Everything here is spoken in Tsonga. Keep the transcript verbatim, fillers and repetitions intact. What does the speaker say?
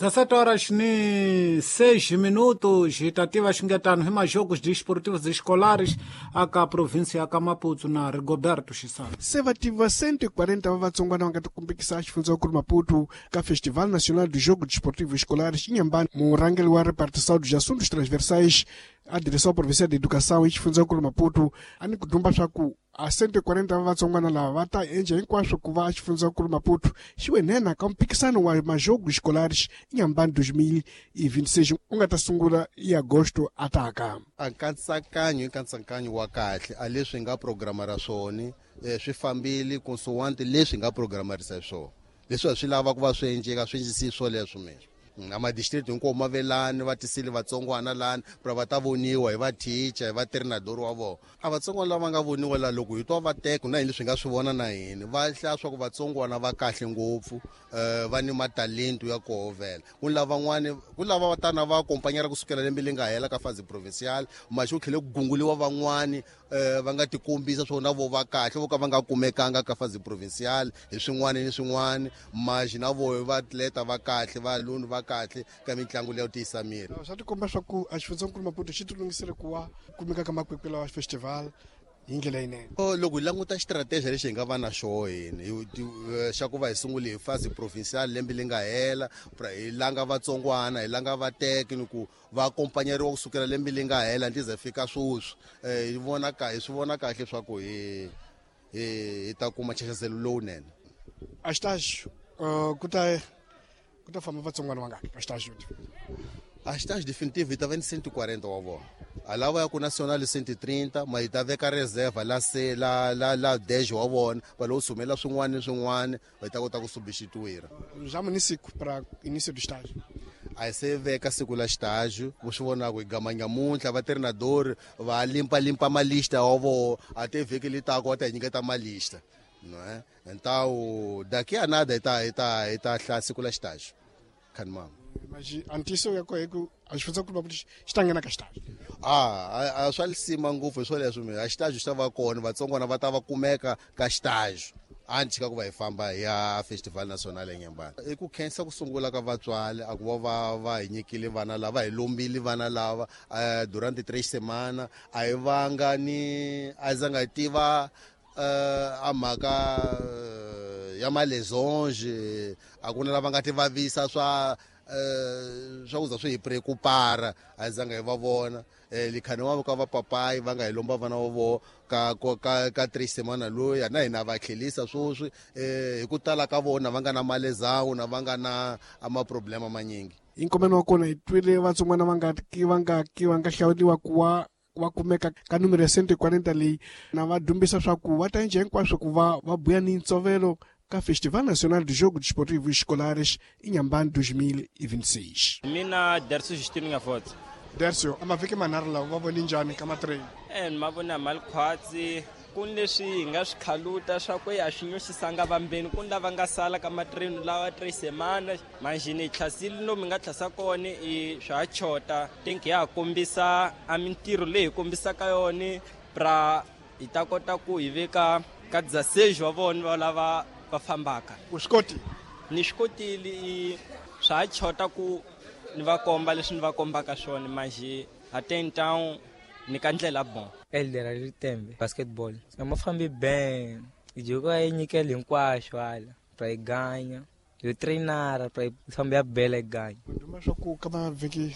dezessete horas ni seis minutos. Tativa xingetano hi majogos desportivos escolares aka província ya ka Maputo na Rigoberto Xisana. Se va tiva cento e quarenta va vatsongwana va nga tikumbikisa xifundzankulu Maputo ka Festival Nacional do Jogo Desportivo Escolares Inhambane. Murhangeri wa repartição dos assuntos transversais a Direção Provincial de Educação e xifundzankulu Maputo a ni ku dumba swa ku a cento e quarenta va vatsongwana lava va ta endla hinkwaswo ku va xifundzankulu Maputo xi wenena ka mpikisano wa majogo escolares Inhambane dois mil e vinte e seis u nga ta sungula hi agosto ataka. A nkatsakanyo i nkatsakanyo wa kahle, a leswi hi nga programara swona eh, swi fambile consoante leswi hi nga programarisa swona. Leswi a swi lava ku va swi endleka swi endlisi swoleswo mina. Mm, a madistrict hinkwawo ma velani va tisile vatsongwana lani pra va ta voniwa hi va-teacher, hi va-treinador wa vona. A vatsongwana lava nga voniwa la, loko hi twa va teka na hini leswi hi nga swi vona na hini va hlaya swa ku vatsongwana va kahle ngopfu, um va ni matalento ya koho vhela. Ku ni lavan'wani, ku lava va tana va akompanyara kusukela lembe leri nga hela ka phase provincial, maxi ku tlhele ku gunguliwa van'wani um va nga tikombisa swo na vo va kahle, vo ka va nga kumekanga ka phase provincial hi swin'wana ni swin'wana, maxi na vo va atleta va kahle, valuni va kahle ka mitlangu leyo tiyisa miri. Swa tikomba swa ku a xifundzankulu Maputo xi tilunghisele ku va kumeka ka makwekwe lawa festival hi ndlela yinene. Oh, loko hi languta xitrateji lexi hi nga va na xoho hini hi- ti- eh, xa ku va hi sungule hi phase provincial lembe leri nga hela pra hi langa vatsongwana, hi langa vateki ni ku va akompanyeriwa kusukela lembe leri nga hela ndzi ze fika sweswi, um hi vona ka hi swi vona kahle swa ku hi hi hi ta kuma nxaxazelo lowunene. A xitaxo uh, ku ta ku ta famba vatsongwana vangaki ka xitaxo? A xitaxo definitive hi ta va ni cento e quarenta wa vona, a lava ya ku national cento e trinta, ma hi ta veka reserva la se la la la dez wa vona va lowu sumela swin'wana ni swin'wana va ta kota ku substituir. Já município para início do estágio? A hi se veka siku la xitaxo, ku swi vonaka hi gama nyamuntlha va treinador va limpalimpa malista wa voho, a te vhiki li taka va ta hi nyiketa malista, não é? Então daqui a nada hi ta hi ta hi ta hlaya siku la xitaxo khanimama. Mas antiso ya koho hi ku a xifundzankulu Maputo xi xi ta nghena ka xitaxo? a a a swa lisima ngopfu hi swoleswo mi a xitaxo xi ta va kona, vatsongwana va ta va kumeka ka xitaxo anti ka ku va hi famba hi ya Festival National eNyembani. I ku khensa ku sungula ka vatswali a ku va va va hi nyikile vana lava, hi lombile vana lava uh, durante três semana, a hi vanga ni a zanga hi tiva uh, a mhaka eh, ya malesões, a ku na lava nga ti vavisa swa eh, swa ku za swi hi preocupara, a hi zanga hi va vona. eh likhani wa ka vapapayi va nga hi lomba vana va voho ka ka ka, ka três semana loyi na hina va tlhelisa sweswi eh hi ku tala ka vona va nga na malesão na va nga na a maproblema manyingi. Hi nkomeno wa kona hi twile vatsongwana va nga ki va nga ki va nga hlawuriwa ku va va kumeka ka numero ya cento e quarenta leyi na va dumbisa swa ku va ta endla hinkwaswo ku va va buya ni ntsovelo ka Festival Nacional de Jogo Desportivo Escolares Inhambane dois mil e vinte e seis. Mina Dercio Justino Ngafotse. Dercio, a mavhiki manharhu lawa va voni njhani ka matrain? E ni ma vona mali khwatsi, ku ni leswi hi nga swi khaluta swa ku a swi nyoxisanga vambeni, ku ni lava nga sala ka matrain lawa três semana manjheni hi tlhasile lomu hi nga tlhasa kona i swa ha chota think ya ha kombisa a mintirho leyi hi kombisaka yona pra hi ta kota ku hi veka ka dezesseis wa vona va lava va fambaka. U swi koti? Ni swi kotile, i swa ha chota ku ni va komba leswi ni va kombaka swona manjhe até então ni ka ndlela bon. Elder Ritembe, basketball. A ma fambi ben. Joko yi nyikela hinkwaxo hala. Pra hi ganya. Yo trainara pra hi famba ya bela hi ganya. Duma swa ku ka mavhiki